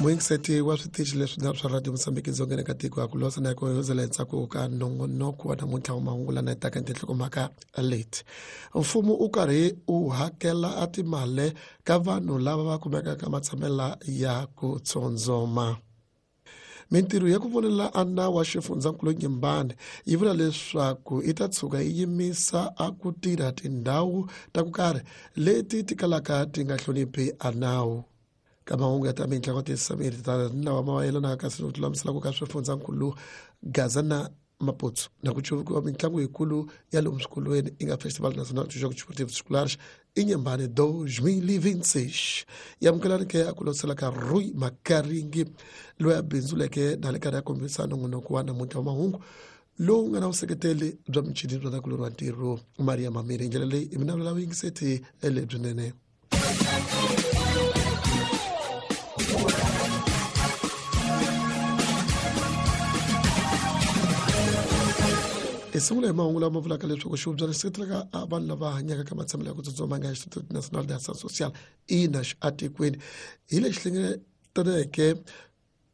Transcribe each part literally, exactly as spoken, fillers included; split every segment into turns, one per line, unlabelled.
Muyingiseti wa switichi leswi swa Radio Mozambique dzongeni ka tiko ya ku losa na ku yozela ntsako ka nongonoko wa namuntlha wa mahungu lana taka tinhlokomhaka leti. Mfumo u karhi u hakela a timali ka vanhu lava va kumekaka matshamela ya ku tsondzoma. Mintirho ya ku vonela a nawu wa xifundzankulu Nyimbani yi vula leswaku yi ta tshuka yi yimisa a ku tirha tindhawu ta ku karhi leti ti kalaka ti nga hloniphi a nawu. Ka mahungu ya ta mitlangu tisamiri ta nawu mayelana ka ku lulamisela ku ka swifundzankulu Gaza na Maputo na ku cuvukiwa mitlangu yikulu ya lomu swikolweni yi nga Festival Nacional de Jogos Desportivos Escolares Inhambane dois mil e vinte e seis. Yamukelani ke a ku lotisela ka Rui Makaringi loyi a bindzuleke na le karhi ya kombisa nongonoko wa namuntlha wa mahungu lowu nga na vuseketeli bya michini bya takulori wa ntirho Maria Mamiri. Hi ndlela leyi i mina vula vuyingiseti lebyinene. Hi sungula hi mahungu lama vulaka leswaku xivubya lexi seketelaka vanhu lava hanyaka ka matshamelo ya ku tsutsuma nga Instituto Nacional de Ação Social I N A S atikweni hi lexi hlengeletaneke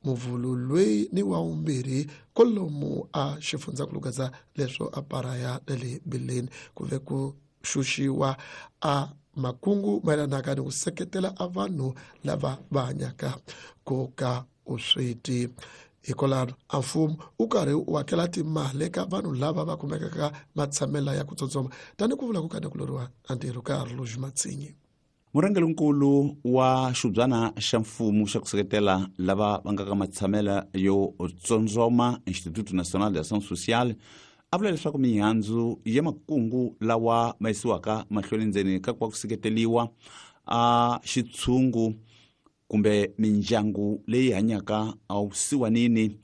muvhulu loyi ni wa vumbirhi kwalomu a xifundzankulu Gaza leswo a paraya na le Bileni ku ve ku xuxiwa a makungu mayelanaka ni ku seketela a vanhu lava va hanyaka ku ka usweti. Hikwalaho a mfumo u karhi u hakela timali eka vanhu lava va kumekaka matshamela ya ku tsotsoma tani ku vula ku kana ku loriwa a ntirho ka Arluj Matsinyi.
Murhangerinkulu wa xibyana xa mfumo xa ku seketela lava va nga ka matshamela yo tsondzoma Instituto Nacional de Ação Social a vula leswaku mihandzu ya makungu lawa ma yisiwaka mahlweni ndzeni ka ku va ku seketeliwa a xitshungu kumbe mindyangu leyi hanyaka awusiwanini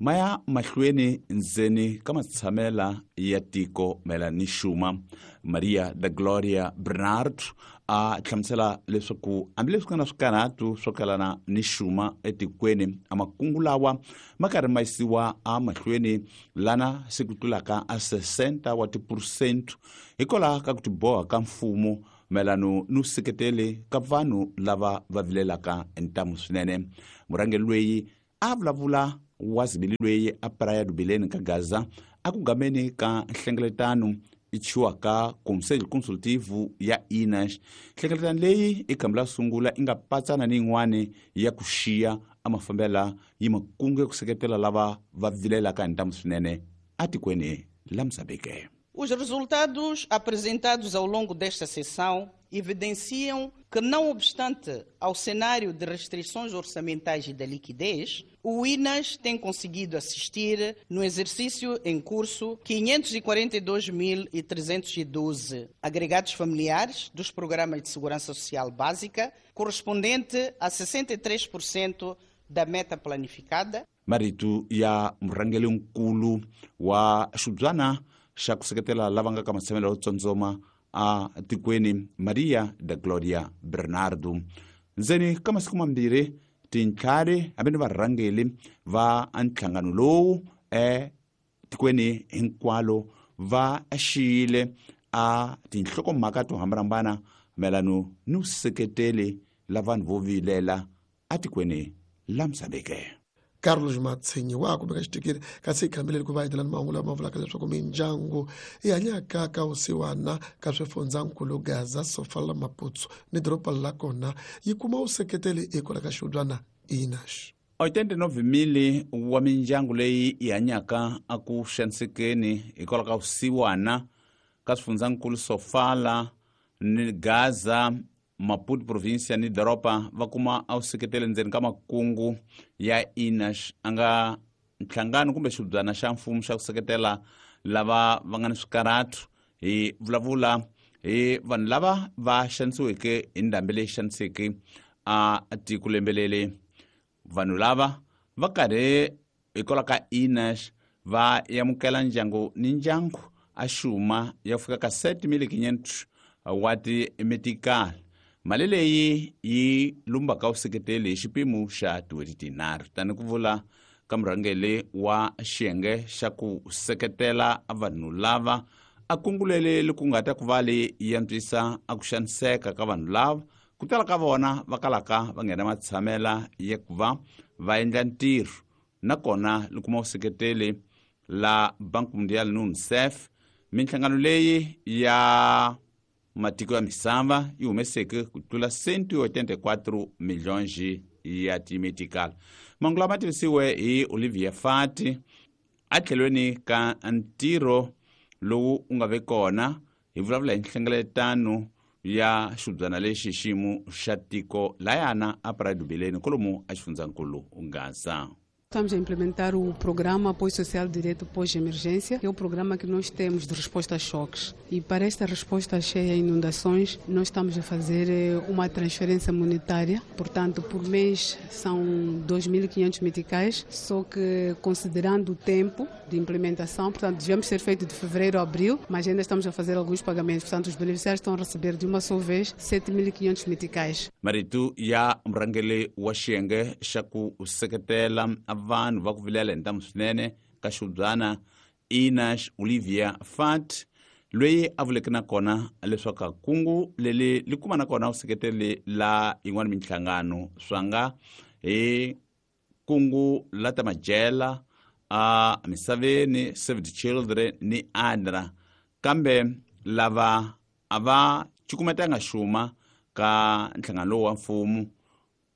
ma ya mahlweni ndzeni ka matshamela ya tiko mayelana ni xuma. Maria da Gloria Bernard a hlamusela leswaku hambileswi ku nga na swikarhatu swo kalana ni xuma etikweni a makungu lawa ma karhi ma yisiwa emahlweni lana se ku tlulaka a sessenta wa tiphurusente hikwalaho ka ku tiboha ka mfumo mayelana no seketele ka vanhu lava va vilelaka ntamu swinene. Murhangeri loyi a vulavula wa zibili loyi a Praia do Belém ka Gaza a ku gameni ka nhlengeletano i chiwaka Conselho Consultivo ya I N A S. Nhlengeletano leyi i khamba la sungula i nga patsana ni yin'wani ya ku xiya a mafambela yi makungu ya ku seketela lava va vilelaka hi ntamu swinene atikweni la Mozambique.
Os resultados apresentados ao longo desta sessão evidenciam que, não obstante ao cenário de restrições orçamentais e da liquidez, o I N A S tem conseguido assistir, no exercício em curso, quinhentos e quarenta e dois mil e trezentos e doze agregados familiares dos programas de segurança social básica, correspondente a sessenta e três por cento da meta planificada.
Marito ya murhangeri-nkulu wa xibyana xa ku seketela lava nga ka matshamelo yo tsondzoma a tikweni Maria da Gloria Bernardo. Ndzeni ka masiku mambirhi tintlhari hambi ni varhangeri va nhlangano lowu etikweni hinkwalo va xiyile a tinhlokomhaka to hambanahambana mayelana ni vuseketeli la vanhu vo vilela atikweni la Mozambique.
Carlos Matsinyi wa kumeka xitikiri kasi hi khambeleni ku va hetelani mahungu lama vulaka leswaku mindyangu yi hanyaka ka vusiwana ka swifundzankulu Gaza, Sofala, Maputo ni doroba la kona yi kuma vuseketeli hikwalaho ka xibyana I N A S.
oitenta e nove mil wa mindyangu leyi yi hanyaka a ku xanisekeni hikwalaho ka vusiwana ka swifundzankulu Sofala ni Gaza, Maputo província ni doroba va kuma a vuseketeli ndzeni ka makungu ya I N A S a nga nhlangano kumbe xibyana xa mfumo xa ku seketela lava va nga ni swikarhatu. Hi vulavula hi vanhu lava va xanisiweke hi ndhambi leyi xaniseke a tiko lembelele. Vanhu lava va karhi hikwalaho ka I N A S va amukela ndyangu ni ndyangu a xuma ya ku fika ka sete mil quinhentos wa timetikali. Mali leyi yi lumbaka vuseketeli hi xipimo xa tin'hweti tinharhu tani ku vula ka murhangeri wa xiyenge xa ku seketela vanhu lava a kungulele ku nga ta ku va leyi yi antswisa a ku xaniseka ka vanhu lava Ku tala ka vona va kalaka va nghena matshamela ya ku va va endla ntirho nakona li kuma vuseketeli la Banco Mundial ni UNICEF. Minhlangano leyi ya matiko ya misava yi humeseke ku tlula cento e oitenta e quatro milhões ya timetical. Mahungu lama tivisiwe hi Olivia Fati atlhelweni ka ntirho lowu u nga ve kona hi vulavula hi nhlengeletano ya xibyana lexi xiyimo xa tiko layana a Praia do Bilene kolomu a xifundzankulu Gaza.
Estamos a implementar o programa Apoio Social Direto Pós-Emergência, que é o programa que nós temos de resposta a choques. E para esta resposta cheia a inundações, nós estamos a fazer uma transferência monetária. Portanto, por mês são dois mil e quinhentos meticais, só que considerando o tempo de implementação, portanto, devemos ser feito de fevereiro a abril, mas ainda estamos a fazer alguns pagamentos. Portanto, os beneficiários estão a receber de uma só vez sete mil e quinhentos meticais.
Maritu ya murhangeri wa xiyenge xa ku seketela vanhu va ku vilela hi ntamu swinene ka xibyana Ina Olivia Fat, loyi a vuleke na kona leswaku kungu leli li kuma na kona vuseketeli la yin'wana minhlangano swa nga hi kungu la ta majela a misaveni, Save the Children ni ADRA, kambe lava a va cukumetanga xuma ka nhlangano lowu wa mfumo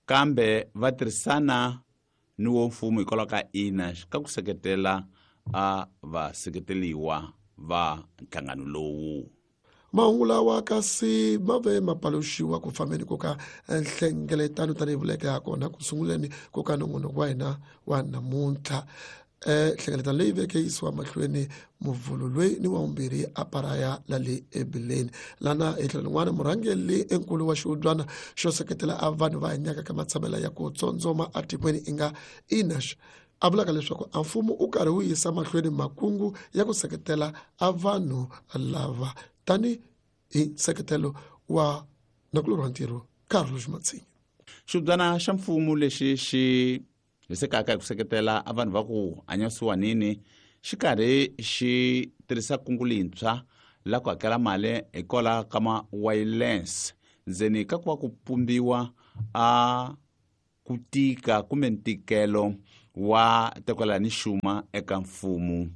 kambe va tirhisana ni wo mfumo hikwalaho ka I N A ka ku seketela a vaseketeliwa va nhlangano lowu.
Mahungu lawa kasi ma ve ma paluxiwa ku fambeni ku ka nhlengeletano tanihi vuleke ha kona ku sunguleni ku ka nongonoko wa hina wa namuntlha. Nhlengeletano leyi veke yisiwa mahlweni muvhulu loyi ni wa vumbirhi a Paraya la le ebileni. Lana hi tlhelo rin'wana murhangeri enkulu wa xihubyana xo seketela a vanhu va hanyaka ka matshamela ya ku tsondzoma etikweni i nga I N A S a vulaka leswaku a mfumo u karhi wu yisa mahlweni makungu ya ku seketela a vanhu lava tani hi nseketelo wa nakulorhi wa ntirho Carlos Matsinha.
Xibyana xa mfumo lexi xi hisekaka hi ku seketela a vanhu va ku hanya swisiwanini xi karhi xi tirhisa kungu lintshwa la ku hakela mali hikwalaho ka ma-wireless ndzeni ka ku va ku pumbiwa a ku tika kumbe ntikelo wa tekwela ni xuma eka mfumo.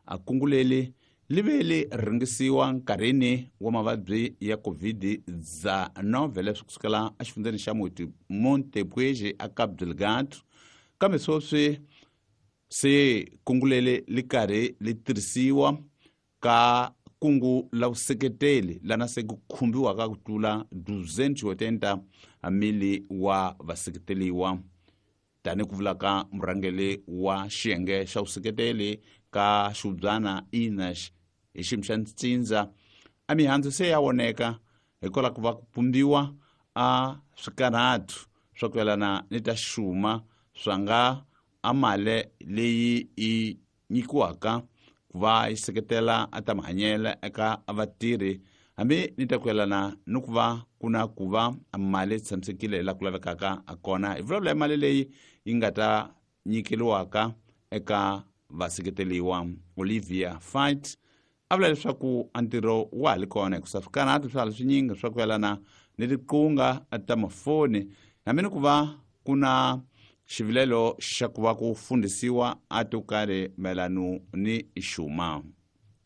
A kungu leri li ve li rhangisiwa nkarhini wa mavabyi ya COVID dezenove leswi kusukela exifundzeni xa Montepuez a Cabo Delgado, kambe sweswi se kungu leri li karhi li tirhisiwa ka kungu la vuseketeli lana se ku khumbiwaka ku tlula duzentos e oitenta mili wa vaseketeliwa, tani ku vulaka murhangeri wa xiyenge xa vuseketeli ka xibyana I N A hi xiyimo xa ntsindza. A mihandzu se ya voneka hikwalaho ku va ku pumbiwa a swikarhatu swa ku yelana ni ta xuma swa nga a mali leyi yi nyikiwaka ku va yi seketela a ta mahanyelo eka vatirhi hambi ni ta ku yelana ni ku va ku na ku va mali yi tshamisekile laha ku lavekaka kona. Hi vulavula hi mali leyi yi nga ta nyikeriwaka eka vaseketeliwa. Olivia Fight a vula leswaku a ntirho wa ha li kona hikusa swikarhatu swa ha li swinyingi swa ku yelana ni tiqunga ta mafoni hambi ni ku va ku na xivilelo xa ku va ku fundhisiwa a to karhi mayelano ni xuma.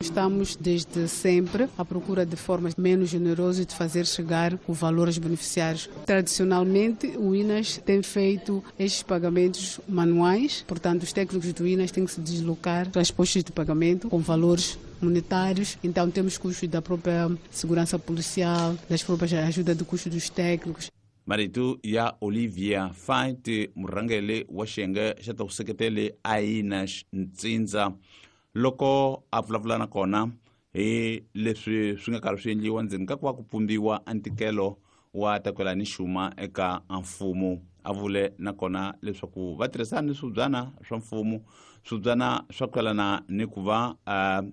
Estamos desde sempre à procura de formas menos generosas de fazer chegar o valor aos beneficiários. Tradicionalmente, o I N A S tem feito estes pagamentos manuais, portanto, os técnicos do I N A S têm que se deslocar para as postas de pagamento com valores monetários. Então, temos custos da própria segurança policial, das próprias ajuda de custo dos técnicos.
Marito ya Olivia Fight, murhangeri wa xiyenge xa ta vuseketeli a I N A S ntsindza, loko a vulavula na kona hi leswi swi nga karhi swi endliwa ndzeni ka ku va ku pumbiwa a ntikelo wa takwela ni xuma eka mfumo. A vule na kona leswaku va tirhisana ni swibyana swa mfumo, swibyana swa ku yelana ni ku va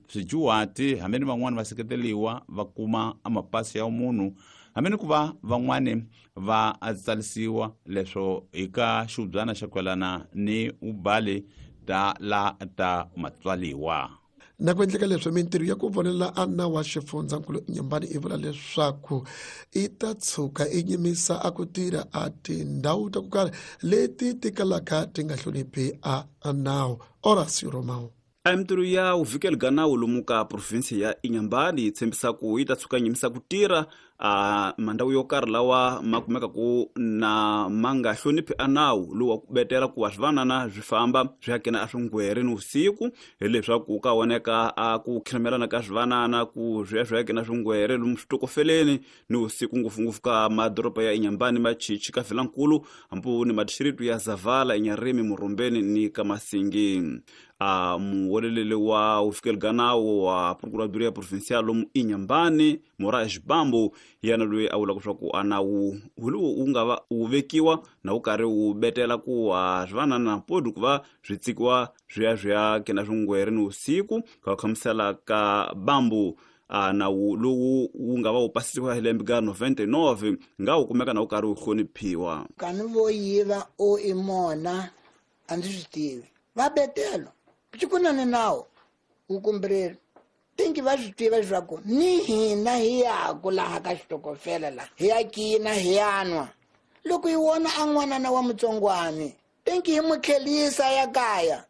swijuwati hambi ni van'wani va seketeliwa va kuma a mapasi ya munhu hambi ni ku va van'wani va tsarisiwa leswo hi ka xibyana xa ku yelana ni ubali ta la ta matswaliwa.
Na ku endleka leswi mintirho ya ku vonela a nawu wa xifundzankulu Inhambane i vula leswaku i ta tshuka i nyimisa a ku tirha a tindhawu ta ku karhi leti ti kalaka ti nga hloniphi a nawu. Horacio Romão.
A mintirho ya vuvikeli bya nawu lomu ka provinsi ya Inhambane yi tshembisa ku yi ta tshuka nyimisa ku tirha a mandhawu yo karhi lawa ma kumekaku na ma nga hloniphi a nawu lowu wa ku betela ku va swivanana swi famba swi ya kena a swingwere ni vusiku, hileswaku ka voneka a ku khiremelana ka swivanana ku swi ya swi ya kena swingwere lomu switokofeleni ni vusiku, ngopfungopfu ka madoroba ya Inhambane, Machichi, ka Vilankulu, hambi ni madixiritu ya Zavala, Inharime, Murumbeni ni ka Masingi. A muweleleli wa vufikeli bya nawu wa Procuradoria Provincial lomu Inhambane, Moraes Bambo, yena loyi a vulaka leswaku a nawu lowu wu nga va wu vekiwa na wu karhi wu betela ku a swivanana podi ku va swi tsikiwa swi ya swi ya kena swingwere ni vusiku. Ka ku hlamusela ka Bambo, a nawu lowu wu nga va wu pasisiwa hi lembe ka ninety-nine nga wu kumeka na wu karhi wu hloniphiwa.
Kani vo yiva o i mona a ndzi swi tivi va betelo ku na nawu wu kumbirhi tinki va swi tiva leswaku ni hina hi yaku laha ka xitokofela laha hi ya kina hi ya nwa. Loko hi vona a n'wanana wa mutsongwani tinki hi mu tlhelisa ya kaya,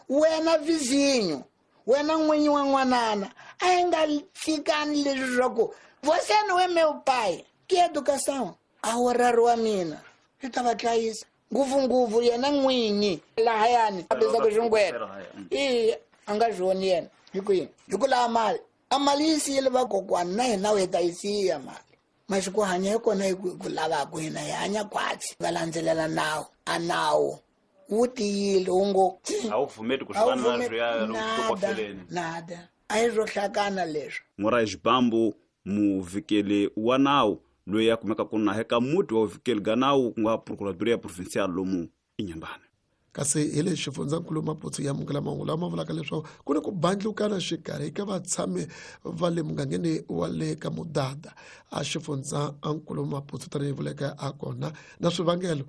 wena vizinyo, wena n'winyi wa n'wanana a hi nga tshikani leswi swa ku você não é meu pai, que educação a horário wa mina swi ta va dlayisa ngopfungopfu yena n'winyi lahayani a bizaka xingwere i a nga swi yena hi ku yini hi ku lava mali a mali yi siyile vakokwana na hina hi ta yi siya mali masiku hanya hi kona hi ku lavaka hina hi hanya khwatsi va landzelela nawu a nawu wu tiyile wu ngo
a wu pfumeli ku swivanana swi ya lomu
nada a hi swo hlakana leswi.
Moraes Bambo, muvikeli wa nawu loyi a kumeka ku na eka muti wa vuvikeli bya nawu ku nga Procuradoria Provincial lomu Inhambane.
Kasi hi le xifundzankulu Maputo ya amukela mahungu lama vulaka leswaku ku ni ku bandlukana xikarhi ka vatshami va le mugangeni wa le ka Mudada a xifundzankulu Maputo tanihi vuleka a kona na swivangelo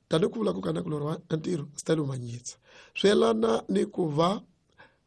tanihi ku vula ku kana kulorhi wa ntirho Stelo Manyitsa swi yelana ni ku va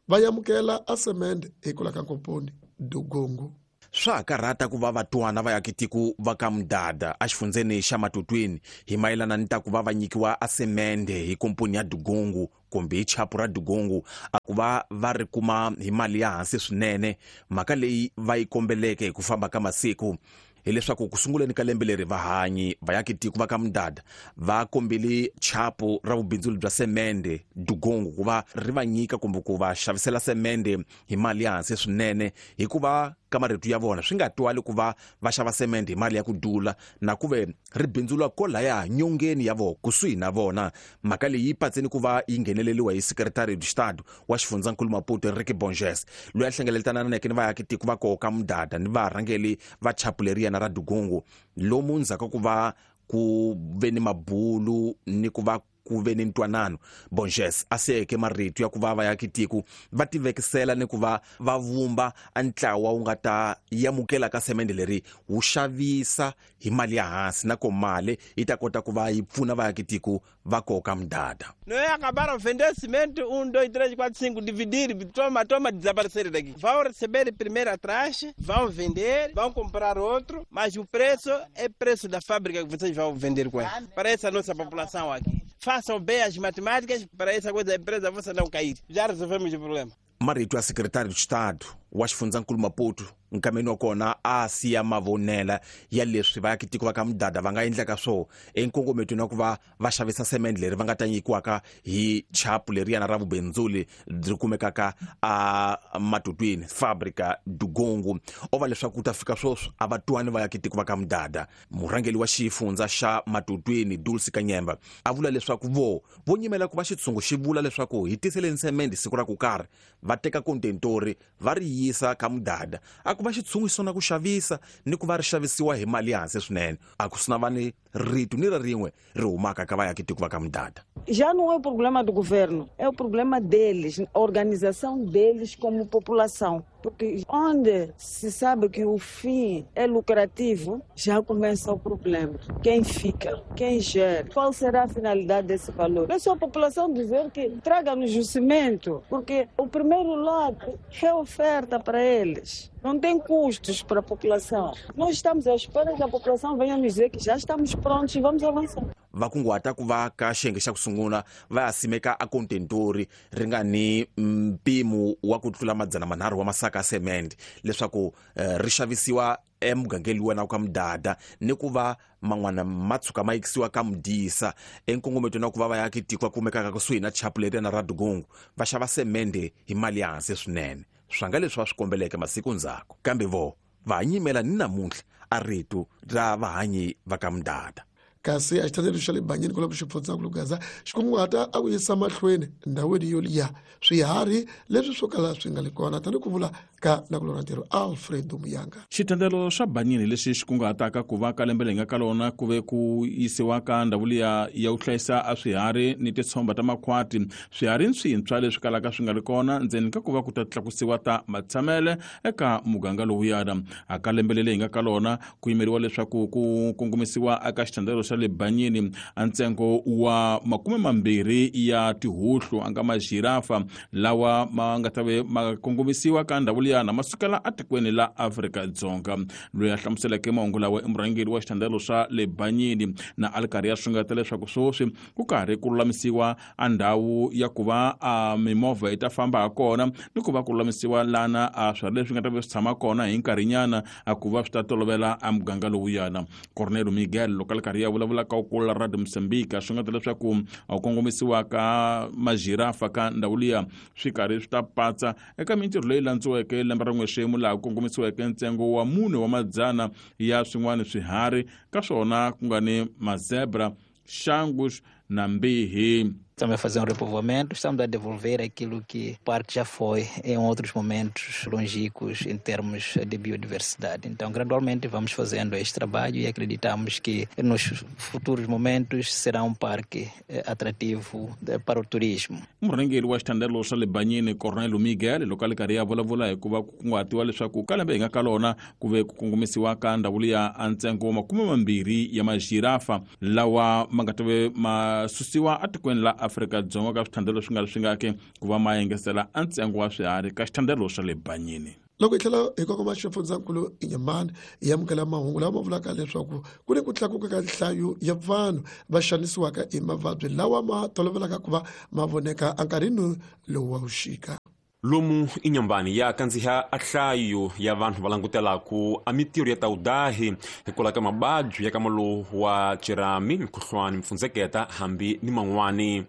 va amukela a semende hi ku la ka nkomponi Dugungu.
Swa karhata ku va vatwana va yakitiko va ka Mudada a xifundzeni xa Matutwini hi mayelana ni ta ku va va nyikiwa a semende hi komponi ya Dugungu kumbe hi chapu ra Dugungu a ku va va ri kuma hi mali ya hansi swinene. Mhaka leyi va yi kombeleke hi ku famba ka masiku hileswaku ku sunguleni ka lembe leri vahanyi va yakitiko va ka Mudada va kombele chapu ra vubindzuli bya semende Dugungu ku va ri va nyika kumbe ku va xavisela semende hi mali ya hansi swinene, hikuva ka marito ya vona swi nga twali ku va va xava semende hi mali ya ku dula na ku ve ri bindzula kolaya nyongeni ya vona kusuhi na vona. Mhaka leyi yi patseni ku va yi ngheneleriwa hi Secretary de Estado wa xifundzankulu Maputo Enrique Bonges, loyi a hlengeletananeke ni vaakitiko va koho ka Mudada ni varhangeli va chapu leriyana ra Dugungu lomu ndzhaku ku va ku ve ni mabulu ni ku va ku ve ni ntwanano. Bonges a siyeke marito ya ku va vaakitiko va tivekisela ni ku va va vumba a ntlawa wu nga ta amukela ka semende leri wu xavisa hi mali ya hansi na ko mali yi ta kota ku va yi pfuna vaakitiko va koka Mudada.
Não é acabaram vender cimento um, dois, três, quatro, cinco, dividir, toma, toma, desaparecer daqui. Vão receber primeiro atrás, vão vender, vão comprar outro, mas o preço é preço da fábrica que vocês vão vender com ela. Para essa nossa população aqui. Façam bem as matemáticas para essa coisa da empresa você não cair. Já resolvemos o problema.
Marito ya Secretário de Estado wa xifundzankulu Maputo nkameni wa kona a siya mavonela ya leswi vaakitiko va ka Mudada va nga endlaka swo enkongometweni wa ku va va xavisa semende leri va nga ta nyikiwaka hi chapu leriyana ra vubindzuli byi kumekaka a Matutwini Fábrica Dugungu. O va leswaku ku ta fika sweswi a va twani vaakitiko va ka Mudada. Murhangeri wa xifundza xa Matutwini Dulce Kanyemba a vula leswaku vo vo nyimela ku va xitshungu xi vula leswaku hi tiseleni semende siku ra ku karhi va teka kontentori va ri yisa ka Mudada a ku va xitshungu xi sona ku xavisa ni ku va ri xavisiwa hi mali ya hansi swinene. A ku sina va ni rito ni ri rin'we ri humaka ka vaakitiko va ka Mudada.
Já não é o problema do governo, é o problema deles, a organização deles como população. Porque onde se sabe que o fim é lucrativo, já começa o problema. Quem fica? Quem gera? Qual será a finalidade desse valor? É só a população dizer que traga-nos o cimento, porque o primeiro lote é oferta para eles. Não tem custos para a população. Nós estamos à espera que a população venha nos dizer que já estamos prontos e vamos avançar.
Va kunguhata ku va ka xiyenge xa ku sungula va ya simeka a contentori ri nga ni mpimo wa ku tlula madzana manharhu wa masaka ya semende leswaku eh, ri xavisiwa emugangeni luwa ka mudada ni ku va man'wana ma tshuka ma yikisiwa ka mudisa enkongometo na ku va va ya tiko kumekaka kusuhi na chapu na Radugungu va xava semende hi mali ya hansi swinene swa nga leswi va swi kombeleke masiku ndzhaku kambe vo va nyimela ni namuntlha a rito ra vahanyi va ka mudada.
Kasi a xithandelo xa le Banyini kwala ku xifundzankulu Gaza xi kunguhata a ku yisa mahlweni ndhawini yo liya swiharhi leswi swo kala swi nga le kona tani ku vula ka nakulora ntirho Alfredo Muyanga.
Xithandelo xa Banyini lexi xi kunguhataka ku va ka lembe leyi nga ka lona ku ve ku yisiwa ka ndhawu liya ya ku hlayisa a swiharhi ni titshomba ta makhwati swiharhi swintshwa leswi kalaka swi nga ri kona ndzeni ka ku va ku ta tlakusiwa ta matshamele eka muganga lowuyana. A ka lembe leyi nga ka lona ku yimeriwa leswaku ku kongomisiwa eka xithandelo xa le Banyini a ntsengo wa makume mambirhi ya tihuhlu a nga majirafa lawa ma nga ta ve ma kongomisiwa ka ndhawu liyana ma sukela etikweni la Afrika-Dzonga. Loyi a hlamuseleke mahungu lawa i murhangeri wa xithandelo xa le Banyini na a ri karhi ya swingeta leswaku sweswi ku karhi ku lulamisiwa a ndhawu ya ku va a mimovha yi ta famba ha kona ni ku va ku lulamisiwa lana a swiharhi leswi nga ta ve swi tshama kona hi nkarhinyana a ku va swi ta tolovela a muganga lowuyana. Cornelio Miguel loko a ri karhi ya vulavula ka kula Radio Mozambique swi nga ta leswaku a kongomisiwa ka majirafa ka ndhawu liya swi karhi swi ta patsa eka mintirho leyi landziweke lembe ra n'wexemu laha ku kongomisiweke ntsengo wa mune wa madzana ya swin'wana swiharhi ka swona ku nga ni mazebra, xangus na mbihi.
Estamos a fazer um repovoamento, estamos a devolver aquilo que o parque já foi em outros momentos longínquos em termos de biodiversidade. Então, gradualmente vamos fazendo este trabalho e acreditamos que nos futuros momentos será um parque atrativo para o turismo.
Murhangeri wa xithandelo xa le Banyini Cornelio Miguel loko a ri karhi ya vulavula hi ku va ku kunguhatiwa leswaku ka lembe hi nga ka lona ku ve ku kongomisiwa ka ndhawu liya a ntsengo wa makume mambirhi ya majirafa lawa ma nga ta ve ma susiwa etikweni la Afrika-Dzonga ka swithandelo swi nga ri swi nga ke ku va ma engetela a ntsengo wa swiharhi ka xithandelo xa le Banyini.
Loko hi tlhela hi kongoma xifundzankulu Inyamani hi amukela mahungu lawa ma vulaka leswaku ku ni ku tlakuka ka nhlayo ya vanhu va xanisiwaka hi mavabyi lawa ma tolovelaka ku va ma voneka enkarhini lowu wa vuxika.
Lomu Inhambane ya kandziha a nhlayo ya vanhu va langutelaku a mintirho ya tawudahi hikwalaho ka mababyi ya ka malowu wa cirami, mukhuhlwani, mpfundzeketa hambi ni man'wani.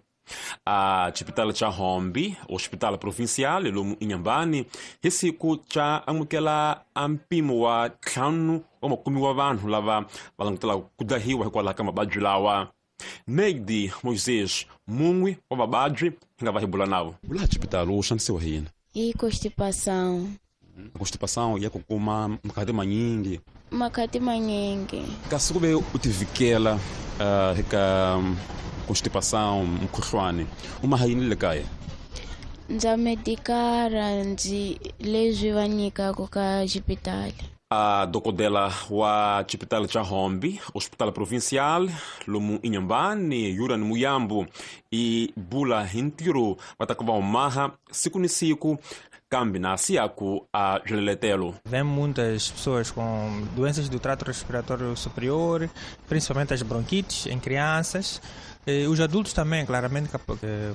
A xipitala xa Hombi, Hospital Provincial lomu Inhambane hi siku xa amukela a mpimo wa ntlhanu wa makume wa vanhu lava va langutelaka ku dahiwa hikwalaho ka mababyi lawa. Neidi Moisés, mun'we wa vababyi hi nga va hi bula navo. Bula xipitalo u xanisiwa hi yini?
Hi constipação.
Constipação ya ku kuma makhati manyingi.
Makhati manyingi.
Kasi ku ve u tivikela uh, eka constipação, mukhuhlwani, u ma yini le kaya?
Ndza medikara ndzi leswi va nyikaka ka xipitali.
A dokodela wa xipitali xa Hombi, Hospital Provincial lomu Inhambane, Yuran Muyambu, i bula hi ntirho va ta ku va humaha siku ni siku kambe na siaku a byiletelo.
Vem muitas pessoas com doenças do trato respiratório superior, principalmente as bronquites em crianças. E os adultos também, claramente, que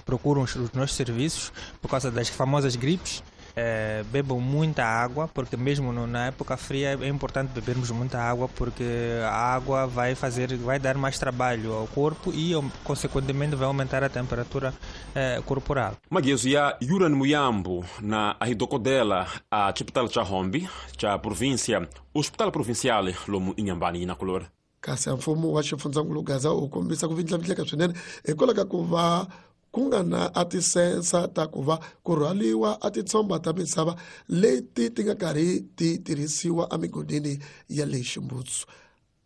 procuram os nossos serviços por causa das famosas gripes. É, bebam muita água, porque mesmo no, na época fria é importante bebermos muita água, porque a água vai fazer, vai dar mais trabalho ao corpo e, consequentemente, vai aumentar a temperatura eh, corporal.
Magezo ya Yuran Muyambu na ahidokodela a Hospital xa Hombi, xa província, Hospital Provincial lomu Inhambane na Color.
Kasi mfumo wa xifundzankulu Gaza u kombisa ku vindlavindleka swinene hikwalaho ka ku va ku nga na a tisensa ta ku va ku rhwaliwa a titshomba ta misava leti ti nga karhi ti tirhisiwa emigodini ya le Ximbutsu.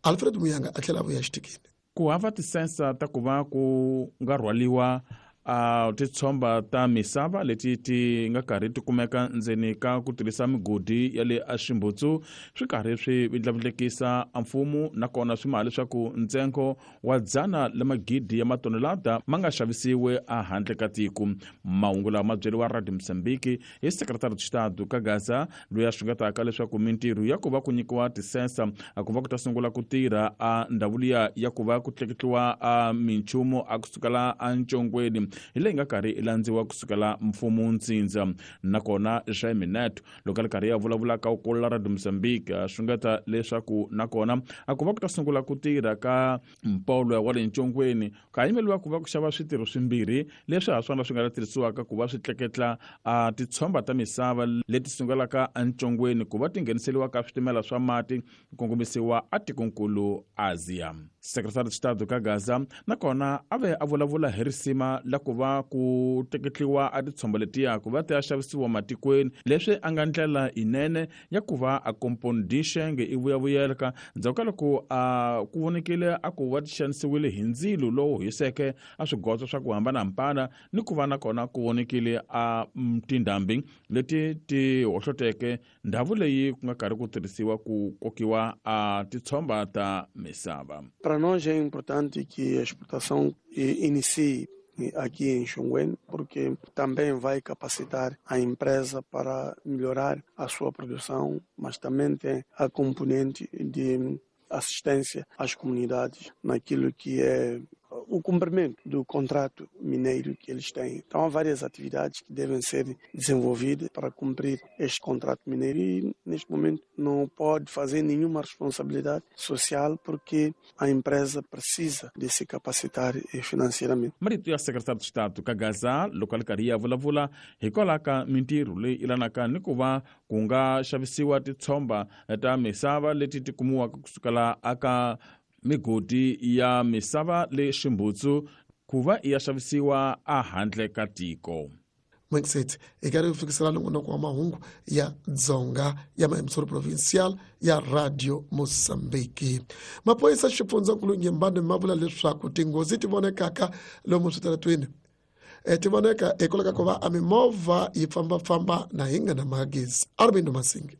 Alfred Muyanga a tlhela a vuya xitikini.
Ku hava tisensa ta ku va ku nga rhwaliwa a titshomba ta misava leti ti nga karhi ti kumeka ndzeni ka ku tirhisa migodi ya le aximbutsu swi karhi swi vindlavindlekisa mfumo, nakona swi maha leswaku ntsengo wa dzana la magidi ya matonelada ma nga xavisiwe ehandle ka tiko. Mahungu lawa ma byeriwa Radio Mozambique hi Secretary de Estado ka Gaza, loyi a xungetaka leswaku mintirho ya ku va ku nyikiwa tisensa a ku va ku ta sungula ku tirha a ndhawu liya ya ku va ku tleketliwa a minchumu a kusukela encongweni hi leyi nga karhi i landziwa kusukela mfumo ntsindza. Nakona Jaime Neto loko a ri karhi ya vulavula ka ukulu Radio Mozambique a xungeta leswaku nakona a ku va ku ta sungula ku tirha ka mpolo wa le ncongweni ka yimeliwa ku va ku xava switirho swimbirhi leswi ha swona swi nga ta tirhisiwaka ku va swi tleketla a titshomba ta misava leti sungulaka encongweni ku va ti ngheniseriwa ka switimela swa mati ku kongomisiwa atikonkulu Asia. Secretary de Estado ka Gaza nakona a ve a vulavula hi risima la ku va ku tleketliwa a titshomba letiya ku va ti ya xavisiwa matikweni, leswi a nga ndlela yinene ya ku va a kompondixenge i vuyavuyeleka ndzhaku ka loko a ku vonekile a ku va ti xanisiwile hi ndzilo lowu hiseke a swigotso swa ku hambanahambana, ni ku va nakona ku vonekile a tindhambi leti ti hohloteke ndhawu leyi ku nga karhi ku tirhisiwa ku kokiwa a titshomba ta misava.
Para nós é importante que a exportação inicie aqui em Xongweni, porque também vai capacitar a empresa para melhorar a sua produção, mas também tem a componente de assistência às comunidades naquilo que é o cumprimento do contrato mineiro que eles têm. Então há várias atividades que devem ser desenvolvidas para cumprir este contrato mineiro e neste momento não pode fazer nenhuma responsabilidade social porque a empresa precisa de se capacitar financeiramente.
Marito ya Secretário de Estado ka Gaza loko a ri karhi ya vulavula hikwalaho ka mintirho leyi ilanaka ni ku va ku nga xavisiwa titshomba ta misava leti ti kumiwaka kusukela aka migodi ya misava le ximbutsu ku va ya xavisiwa ehandle ka tiko.
Mwexet hi karhi ku fikisela nongonoko wa mahungu ya Dzonga ya Maemsoro Provincial ya Radio Mozambique. Maphorisa xifundzankulu Nyembane ma vula leswaku tinghozi ti vonekaka lomu switaratweni ti voneka hikwalaho ka ku va a mimovha yi fambafamba na hi nga na magezi. Arvindo Masingi.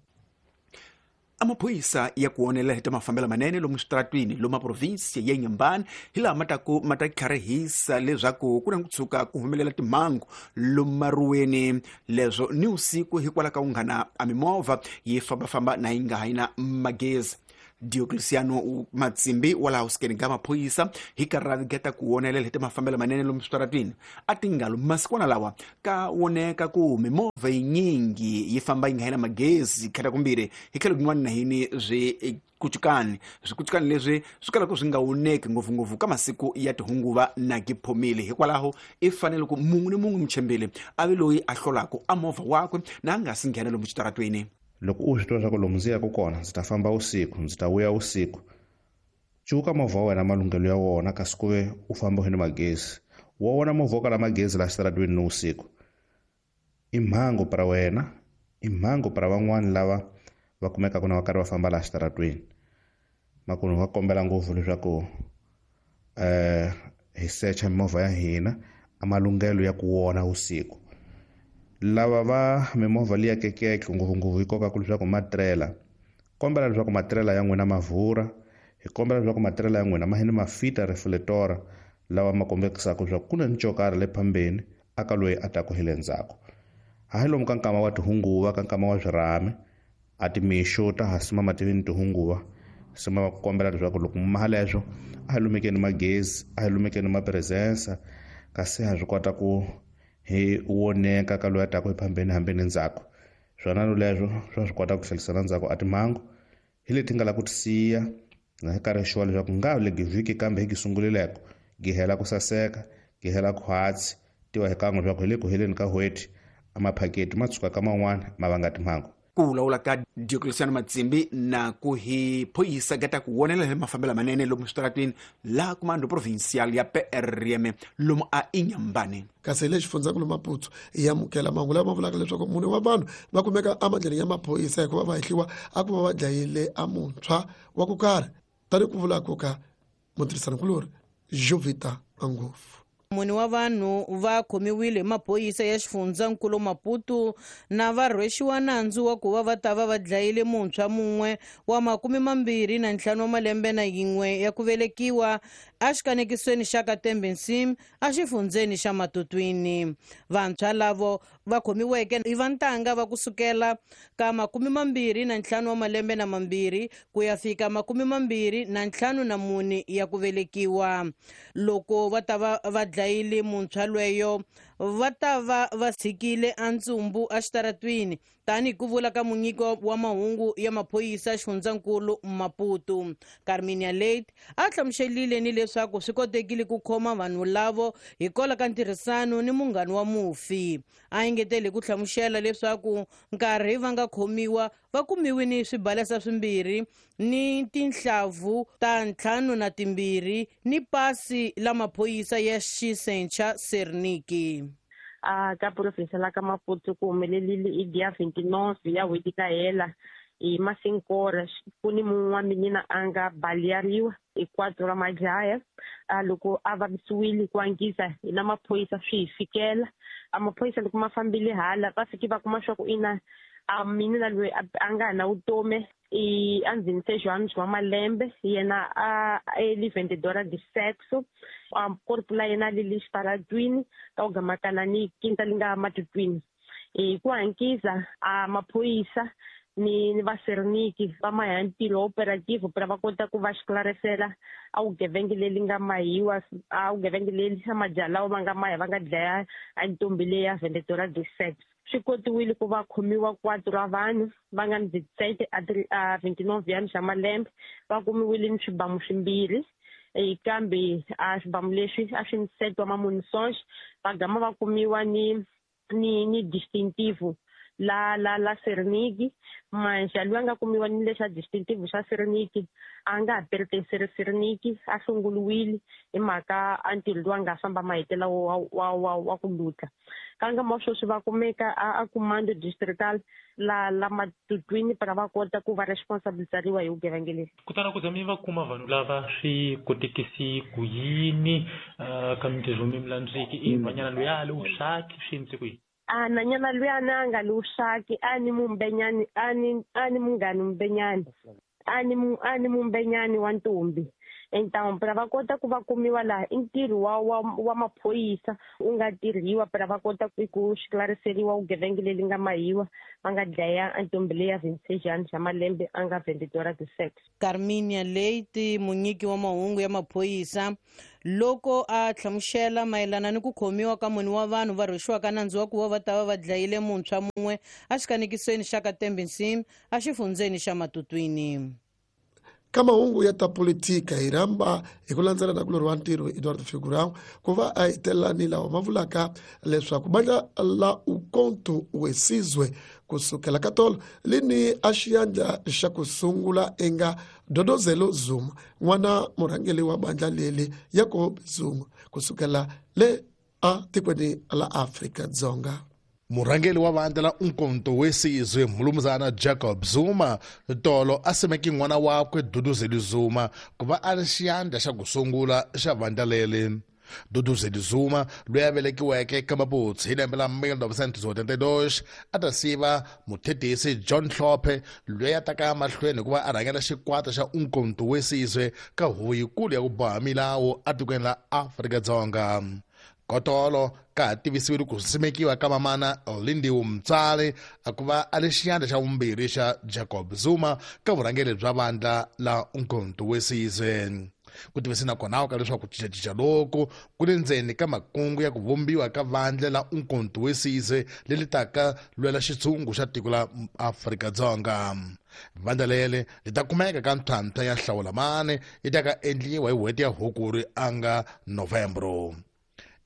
Amaphoyisa ya ku onela hi ta mafambelo manene lomu switaratwini lomu provinsi ya Inhambane hi laha ma ta ku ma ta tlharihisa leswaku ku na ku tshuka ku humelela timhangu lomu maruweni leswo ni usiku hikwalaho ka unghana a mimovha yi fambafamba na yi nga ha yi na magezi. Diocleciano Matsimbi wa laha usikeni ka maphorisa hi karhi ra geta ku wonelela hi ta mafambelo manene lomu switaratwini a tingalo masikwana lawa ka woneka ku mimovha yinyingi yi famba yi nga na magezi khata kumbirhi hi tlhelo kun'wana na hini swi kucukani swikucukani leswi swi kalaka swi nga woneki ngopfungopfu ka masiku ya tihunguva na giphomile. Hikwalaho i fanele ku munhu ni munhu muchembele a ve loyi a hlolaka a movha wakwe na a nga si nghena lomu xitaratweni.
Loko u swi tiva leswaku lomu ndzi yaka kona ndzi ta famba usiku, ndzi ta vuya usiku, cuka movha wa wena malunghelo ya wona kasi ku ve u famba u ni magezi. Wa wona movha wo kala magezi laha xitaratweni ni usiku i mhangu para wena, i mhangu para van'wani lava va kumekaka na va karhi va famba laha xitaratweni. Makunu va kombela ngopfu leswaku um hi secha mimovha ya hina a malunghelo ya ku wona usiku. Lava va mimovha liya kekeke ngopfungopfu yi kokaka leswaku matirela, kombela leswaku matirela ya n'wina ma vhura, hi kombela leswaku matirela ya n'wina ma hini ma fita reflector lawa ma kombekisaka leswaku ku na ncokari le phambeni aka loyi a taku hi le ndzhaku. Hayi lomu ka nkama wa tihunguva ka nkama wa swirhami a timixo ta ha sima mativini tihunguva sima va ku kombela leswaku loko mi maha leswo a hi lumekeni magezi, a hi lumekeni mapresensa kasi ha swi kota ku hi woneka ka loyi a taku hi phambeni hambeni ndzhaku. Swona leswo swa swi kota ku tlhelisela ndzhaku a timhangu hi leti nga la ku ti siya na hi karhi xuwa leswaku nga le vhiki kambe hi gi sungulileko gi hela ku saseka gi hela khwatsi tiva hi kan'we leswaku hi le ku heleni ka n'hweti a maphaketi ma tshuka ka man'wana ma vanga timhangu.
Ku vulavula ka Diocleciano Matsimbi na ku hi phoyisa gata ku wonela hi mafambelo manene lomu switaratwini laha kumando provincial ya P R M lomu a Inhambane.
Kasi hi le xifundzankulu Maputo yi amukela mahungu lama vulaka leswaku mune wa vanhu va kumeka emandleni ya maphorisa hikuva va hehliwa a ku va va dlayile a muntshwa wa ku karhi tani ku vula ku ka Mutirhisanikulori Jovita Angofu.
Mune wa vanhu va khomiwile hi maphorisa ya xifundzankulu Maputo na va rhwexiwa nandzu wa ku va va ta va va dlayile muntshwa mun'we wa makume mambirhi na ntlhanu wa malembe na yin'we ya ku velekiwa exikanekisweni xa Katembe Nsimu exifundzeni xa Matutwini. Vantshwa lavo va khomiweke i va ntanga va kusukela ka makume mambirhi na ntlhanu wa malembe na mambirhi ku ya fika makume mambirhi na ntlhanu na mune ya ku velekiwa. Loko va ta va va dlayile muntshwa lweyo va ta va va tshikile antsumbu exitaratwini tanihi ku vula ka munyiko wa mahungu ya maphorisa xifundzankulu Maputo. Carminia Late a hlamuselile ni leswaku swi kotekile ku khoma vanhu lavo hikwalaho ka ntirhisano ni munghana wa mufi. A engetele ku hlamusela leswaku nkarhi va nga khomiwa va kumiwe ni swibalesa swimbirhi ni tinhlavu ta ntlhanu na timbirhi ni pasi la maphorisa ya xisencha Serniki.
A ka provinsi la ka Maputo ku humelelile i dia vinte e nove ya n'hweti ka hela hi masinkora ku ni mun'we wa minina a nga baleariwa hi quatro ra majaha a loko a vavisiwile ku angisa hi na maphorisa swi hi fikela a maphorisa loko ma fambile hala va fike va kuma swa ku ina a minina loyi a nga na vutomi i a vinte e seis anos wa malembe yena a ele vendedora de sexo a corpo la yena li le xitaratwini ka ku gamakana ni quinta li nga Matutwini hi ku hankisa a maphorisa ni ni vaserniki va maya ntirho operativo para va kota ku va xiklarisela a vugevenga leri nga mahiwa a vugevenga leri a majaha lawa va nga maya va nga dlaya a ntombi leya vendedora de sexo. Swi kotiwile ku va khomiwa quatro ra vanhu va nga ni dezessete a vinte e nove anos ya malembe va kumiwile ni swibamu swimbirhi kambe a swibamu leswi a swi ni sete wa mamunições va gama va kumiwa ni ni ni distintivo la la la Serniki manje loyi a nga kumiwa ni lexa distintivo xa Serniki a nga ha pertenceri Serniki a hlongoliwile hi mhaka a ntirho lowu a nga famba mahetela wa wa wa wa ku lutla ka ngama sweswi va kumeka a a comando distrital la la Matutwini para va kota ku va responsabilizariwa hi vugevenga lebyi.
Kutani ku za mi va kuma vanhu lava swi kotekisi ku yini ka mintirho mi milandziki i nhwanyana loyi a le vuswaki swi endlise ku yini?
A nanyana luyani a nga le vuswaki a ni mumbenyani a ni a ni munghani mumbenyani a ni a ni mumbenyani wa ntombi. Então para va kota ku va kumiwa laha i ntirho wa wa wa maphorisa u nga tirhiwa para va kota ku xiklariseriwa vugevenga leri nga mahiwa va nga dlaya a ntombi leya vinte e seis anos ya malembe a nga vendedora de sexo.
Carminia Leite munyiki wa mahungu ya maphorisa loko a hlamusela mayelana ni ku khomiwa ka mune wa vanhu va rhwexiwaka nandzu wa ku va va ta va va dlayile muntshwa mun'we exikanekisweni xa Katembe Nsimu exifundzeni xa Matutwini.
Ka mahungu ya ta politika hi rhamba hi ku landzela na kulori wa ntirho Eduardo Figurão ku va a hetelela ni lawa ma vulaka leswaku bandla la Umkhonto weSizwe kusukela ka tolo lini a xiyandla xa ku sungula enga Dodozelo Zuma n'wana murhangeri wa bandla leli Jacob Zuma kusukela le a tikweni la Afrika-Dzonga.
Murhangeri wa vandla la Umkhonto weSizwe Mnumzana Jacob Zuma tolo a simeke n'wana wakwe Duduzelo Zuma ku va a ri xiyandla xa ku sungula xa vandla leri. Duduzelo Zuma loyi a velekiweke ka Maputsi hi lembe la mil novecentos e oitenta e dois a ta siva muthetisi John Hlophe loyi a taka mahlweni ku va a rhangela xikwata xa Umkhonto weSizwe ka huvo yikulu ya ku boha milawu etikweni la Afrika-Dzonga. Kotolo ka ha tivisiwile ku simekiwa ka mamana Lindiwe Mtsali a ku va a le xiyandla xa vumbirhi xa Jacob Zuma ka vurhangeri bya vandla la Umkhonto weSizwe. Ku tivisa nakona ka leswaku cincacinca loku ku le ndzeni ka makungu ya ku vumbiwa ka vandla la Umkhonto weSizwe leri taka lwela xitshungu xa tiko la Afrika-Dzonga. Vandla leri ri ta kumeka ka ntlhantlha ya hlawulamani yi ta ka endliwa hi n'hweti ya Hukuri a nga Novembro.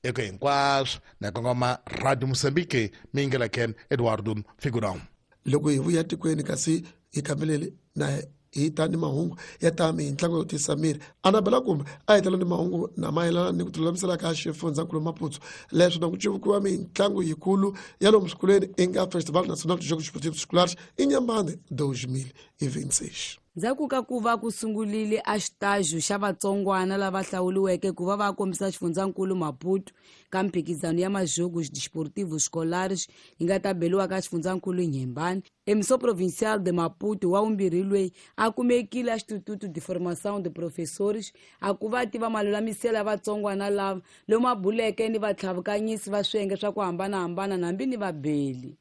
Eka hinkwaswo na kongoma Radio Mozambique mingela Ken Eduardo Figurão.
Loko hi vuya tikweni kasi hi kambelele na hi ta ni mahungu ya ta mintlangu yo tisa miri Anabela kumbe a hetela ni mahungu na mayelana ni ku tilulamisela ka xifundzankulu Maputo leswi na ku civukiwa mintlangu yikulu ya lomu swikolweni i nga Festival Nacional de Jogos Esportivos Escolares Inhambane dois mil e vinte e seis.
Ndzhaku ka ku va ku sungulile a xitajo xa vatsongwana lava hlawuriweke ku va va kombisa xifundzankulu Maputo ka mphikizano ya Majogos Desportivos Escolares yi nga ta beliwa ka xifundzankulu Inhambane, Emissão Provincial de Maputo wa vumbirhi loyi a kumekile a Instituto de Formação de Professores a ku va tiva malulamiselo ya vatsongwana lava lomu a buleke ni vatlhavukanyisi va swiyenge swa ku hambanahambana hambi ni vabeli.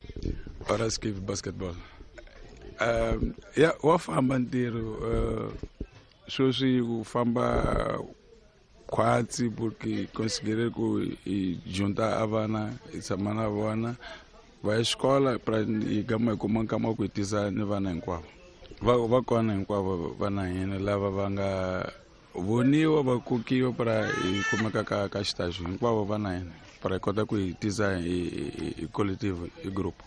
Paraskevi basketball. Um, ya wa famba ntirho uh, sweswi ku famba khwatsi porque considerei ku hi junta a vana hi tshama na vona va ya xikola pra hi gama hi kuma nkama wa ku hi tisa ni vana hinkwavo va va kona hinkwavo vana hina lava va nga voniwa va kokiwa pra hi kumeka ka ka xitaxo hinkwavo vana hina pra hi kota ku hi tisa hi hi collective hi group.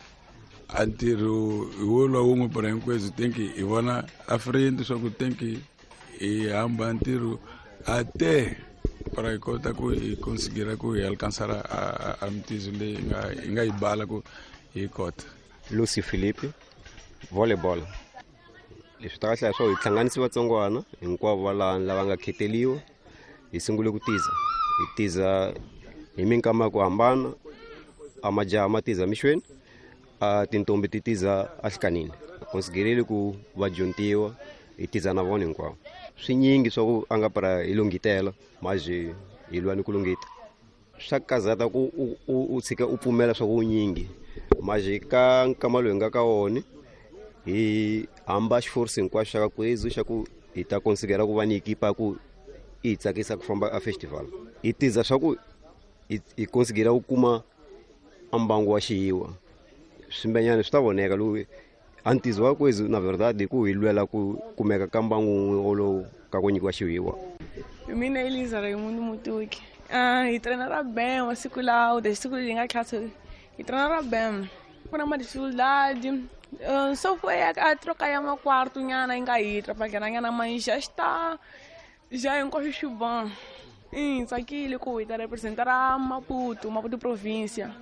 A ntirho hi wo lwa wun'we pra hinkwenu think hi vona a friend swa ku think hi hamba ntirho a te para hi kota ku hi considera ku hi alcançar a a mitizo leyi hi nga hi nga yi bala ku hi kota.
Lucy Philippe, volleyball. Leswi ta kahle swo hi hlanganisi vatsongwana hinkwavo va laha lava nga kheteliwa hi sungule ku tiza hi tiza hi minkama ya ku hambana a majaha ma tiza mixweni a tintombi ti tiza ahlikanini considerele ku va dyontiwa hi tiza na vona hinkwavo swinyingi swa ku a nga para hi lunghitela maje hi lwa ni ku lunghita swa kazata ku u u tshika u pfumela swa ku nyingi maje ka nkama loyi nga ka wona hi hamba xiforce hinkwaxo xa ka kwezu xa ku hi ta considera ku va ni ekipa ku hi tsakisa ku famba a festival hi tiza swa ku hi considera ku kuma a mbangu wa xiyiwa swimbenyana swi ta voneka lowu a ntizo wa kwezu na verdade ku hi lwela ku kumeka ka mbangu wun'we wolowo ka ku nyikiwa xiyiwa.
Mina Elisa Raimundo Mutuki. Ah, hi treinara bem masiku lawa desde siku leri nga classe hi treinara bem ku na ma dificuldade. Uh, só foi a, a troca ya makwarto nyana yi nga hi trapagana nyana mas já está já é um corre bom. Hi tsakile ku hi ta representar a Maputo, Maputo província.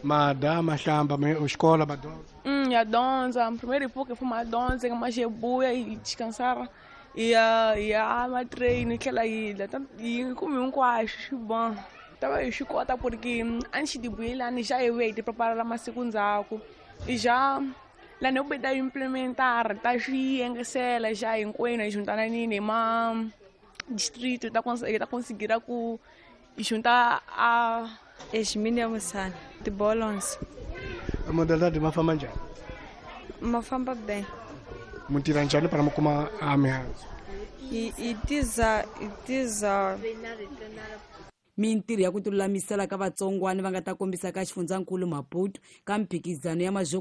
Mada mahlamba me escola madonza.
Hum, a donza, primeiro pouco foi uma donza, uma jebuia e descansar. E a e a ma treino aquela ilha, e comi um quacho bom. Tava eu chicota porque antes de ir lá já eu ia preparar uma segunda e já lá não podia implementar, tá engesela já em coina juntar na nini ma distrito tá conseguir tá conseguir com juntar a
Esmine Musana, de Bolons.
A modalidade mafamba njhani?
Mafamba bem.
Mutirha njhani para mi kuma a mihandzu?
Hi hi tiza hi tiza
Mintirho ya ku tilulamisela ka vatsongwana va nga ta kombisa ka xifundzankulu Maputo ka mphikizano ya Majogos